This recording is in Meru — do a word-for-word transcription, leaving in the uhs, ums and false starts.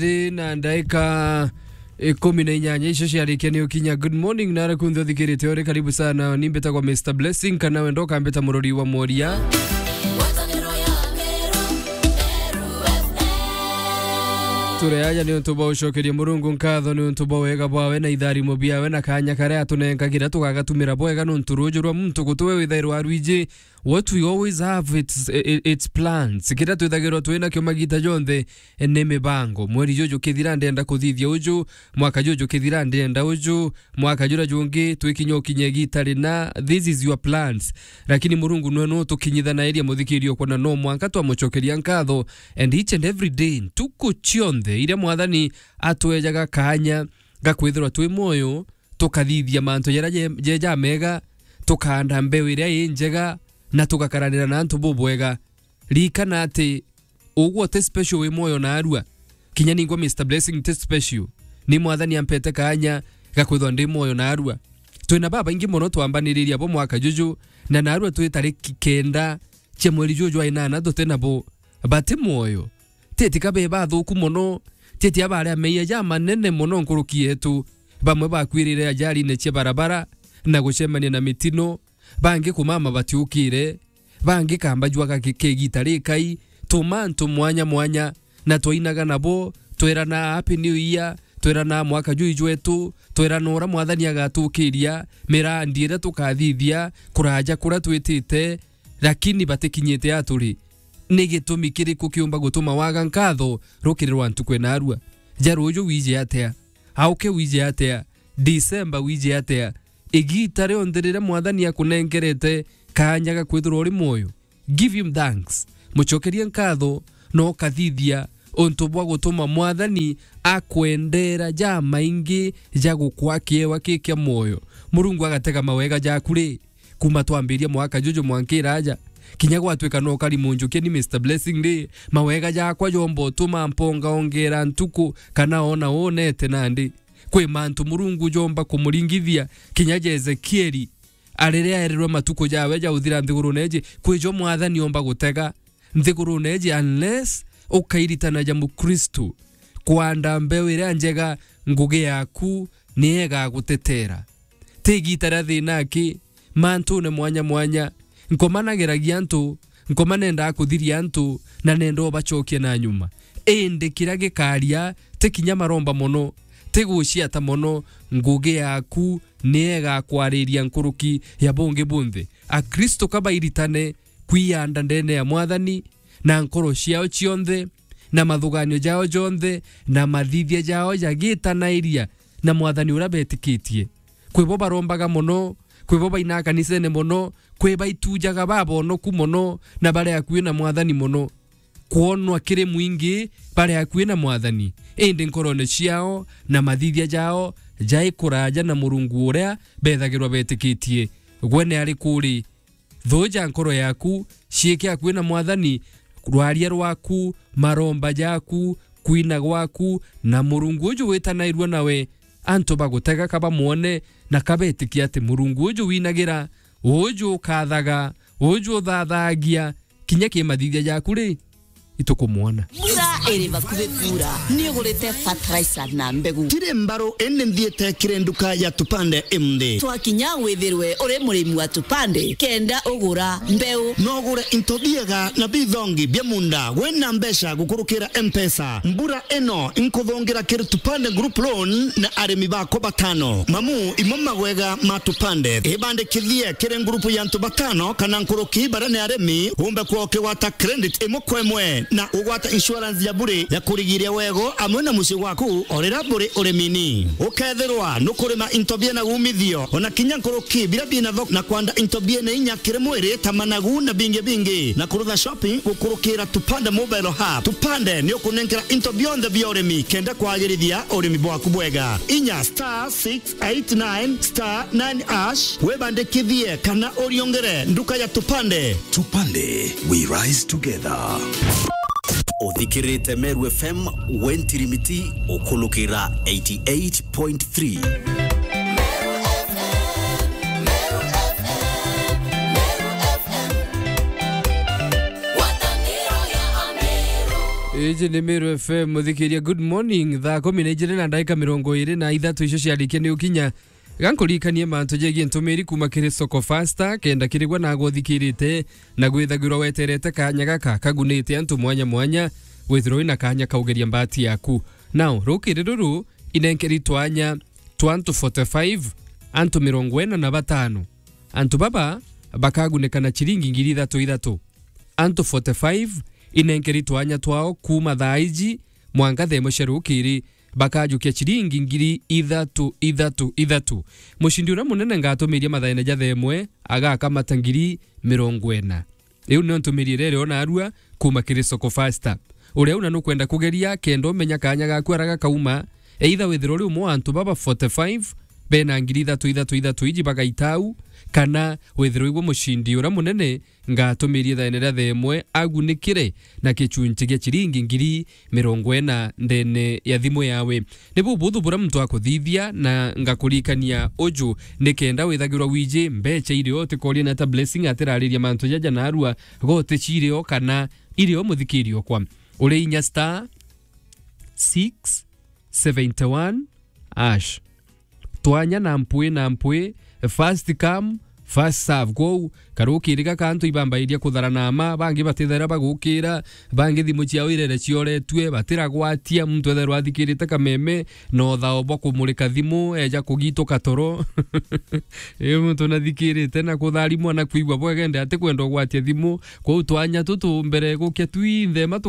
Ri na ndaika ikumi na inyanya icio ciarikia ni ukinya. Good morning, na arakunthe uthikirite uri karibu sana. Ni mbitagwa Mister Blessing, kana wenda ukambita murori wa moria. Turi aja ni untu bwa ucokeria Murungu nkatho ni untu bwa wega bwawe na itharimo biawe na kanya karia atunenkagira tugagatumira bwega nuntu ruju rwa muntu gutuwe withairwa arwiji. What we always have, it's, i-, i-, it's plans. Kiria twithagirwa twinakio magita jonthe, eh, ni mibango. Mweri juju kithira ndenda kuthithia uju, mwaka juju kithira ndenda uju, mwaka juria jungi twikinya ukinye igita rina, this is your plans. Lakini Murungu nwe no tukinyithanairia muthikirio kwona no mwanka twamucokeria nkatho, and each and every day, ntuku cionthe iria Mwathani atwejaga kanya ga kwithirwa twi mwoyo, tukathithia mantu jaria je-, jeja mega, tukaanda mbeu iria i njega, na tugakaranira na antu bubwega. Ririkana ati ugwe uti special wi mwoyo naarua. Kinya ningwa Mister Blessing ti special. Ni Mwathani ampete kanya ga kwithwa ndi mwoyo naarua. Twina babaingi mono twambaniriria bo mwaka juju, na naarua twi tariki kenda cia mweri juju jwa inana tuti nabo. Bati mwoyo. Titi ka be bathuku mono, titi abaria meeyia jamanene mono nkuruki yetu. Bamwe bakwirire ajarine cia barabara na gucemania na mitino, bangi kumama batiukire, bangi kamba jwaga ki-, kegita rikai, tuma antu mwanya mwanya, na twainaga nabo, twerana Happy New Year, twerana mwaka juu jwetu, twerana uria Mwathani agatukiria, mirandi iria tukathithia, kuraja kuria twitite, lakini batikinyite aturi. Ni gitumi kiriku kiumba gutuma waga nkatho rukiri rwa ntuku ena arua? Ja ruju wije atia? Auke wije atia? December wije atia? Igita rionthe riria Mwathani akunenkerete kanya ga kwithirwa uri mwoyo, give him thanks. Mucokerie nkatho, na ukathithia untu bwa gutuma Mwathani akwendera jamaingi ja gukwa kiewa ki kia mwoyo. Murungu agatega mawega jaku ri, kuma twambiria mwaka juju mwankira aja, kinya gwatwika no kari munjukia ni Mister Blessing ri, mawega jakwa jomba utuma mponga ongera ntuku kana ona unete nandi. Kwi mantu Murungu jomba kumuringithia, kinya ja Ezekieli, a riria eerirwe matuku jawe ja uthira nthigurune iji, kwi jo Mwathani omba gutega nthigurune iji unless ukairitanaja Mukristu kwanda mbeu iria njega, ngugi yaku ni igagutetera. Ti igita ria thina aki, mantune mwanya mwanya, nkomanagiragia antu, nkoma nendaa kuthiria antu, na nenda ubacokia na nyuma. Indi kiria gikaria, ti kinya maromba mono, ti guciata mono, ngugi yaku ni igakwariria nkuruki ya bungi bunthe. Akristu ka bairitane kwianda ndene ya Mwathani na nkoro ciao cionthe, na mathuganio jao jonthe, na mathithia jao jagitanairia na Mwathani uria betikitie. Kwi bo barombaga mono, kwi bo bainaga kanisene mono, kwi baitujaga babonoku mono, na bari akui na Mwathani mono. Kwonwa kiri mwingi bari akui na Mwathani, indi nkorone ciao na mathithia jao jai kuraja na Murungu uria bethagirwa betikitie. Gwe ni ari kuri? Thuja nkoro yaku, ciike akui na Mwathani, rwaria rwaku, maromba jaku, kwina gwaku, na Murungu uju witanairua nawe. Antu bagutega ka bamwone na ka betikia ati Murungu uju winagira, uju ukathaga, uju uthathagia, kinya ki mathithia jaku ri, itukumwona. Mbura iri bakuhi kuura, ni ugurite fertilizer na mbegu? Tiri mbaru, indi nthiite kiri nduka ya Tupande imunthi. Twakinya withirwe uri murimi wa Tupande, kenda ugura mbeu. No ugure into biega na bithongi bia munda wina mbeca gukurukira Mpesa. Mbura ino inkuthungira kiri Tupande Group Loan na arimi bakwa batano. Mamu, imo magwega ma Tupande. Ibandikithie kiri ngurupu ya antu batano kana nkuruki baria ni arimi, umbe kwa ukigwata credit imwe kwa imwe na ugwata insurance ya bure ya kurigiria wego amwe na mucii gwaku o riria buri urimini. Ukethirwa nukurima into biena umithio, ona kinya nkuruki biria biena thoko, na kwanda into biena inya kiri mwiri ta managu na bingi bingi, na kurutha shopping gukurukira Tupande Mobile Hub. Tupande ni ukunenkera into bionthe bia urimi kenda kwagirithia urimi bwaku bwega. Inya star six eight nine star nine hash, wibandikithie kana uriongere nduka ya Tupande. Tupande, we rise together. Uthikirite Meru F M, we ntirimiti ukulukira eighty eight point three. Iji ni Meru F M, muthikiria, good morning. Thaa kumi na ijiri na ndagika mirongo iri na ithatu icio ciarikia ni ukinya. Gankuririkanie mantu jegie ntumiri kuma kiri Soko Fasta, kenda kirigwa na gwothikirite na gwithagirwa weterete kanya gaka kagunite antu mwanya mwanya, withirwe wina kanya kaugeria mbati yaku. Now, rukiri ruru inenkeri twanya twa antu forty-five, antu mirongo ina na batano. Antu baba bakagunika na ciringi ngiri ithatu ithatu. Antu forty-five inenkeri twanya twao kuuma thaa iji mwanka thaa imwe cia rukiri, bakajukia ciringi ngiri ithatu ithatu ithatu. Mucindi uria munene ngatumiria mathaene ja thaa imwe agakamata ngiri mirongo ina. Iu nio ntumiri iria iriona arua kuuma kiri Soko Fasta. Uria una nukwenda kugeria kenda umenya kanya gaku ara gakauma, either withirwe uri umwe wa antu baba forty-five bena ngiri ithatu ithatu ithatu iji bagaita au, kana withirwe igwe mucindi uria munene ngatumirie thaene ria thaa imwe agunikire na gicunci gia ciringi ngiri mirongo ina ndene ya thimu yawe. Ni bubuthu buria muntu akuthithia, na ngakuririkania uju ni kenda withagirwa wiji mbeca irio, utikorie na ta Blessing atirariria mantu jaja narua, goti cirio kana irio, muthikirio kwa uri inya star six seventy one hash. Twanya na mpwi na mpwi, first come, first serve. Kwou, karukiri gaka antu ibambairia kutharana ama, bangi batithaira bagukira, bangi thimu ciao irere cioretue, batiragwatia, muntu ethairwa athikirite kameme, na uthao bwa kumurika thimu, eja kugituka toro. Ii muntu nathikirite na kutharimwa na kwigua bwegende atikwenda ugwatia thimu. Kwou twanya tutu mbere gukia twinthe, matu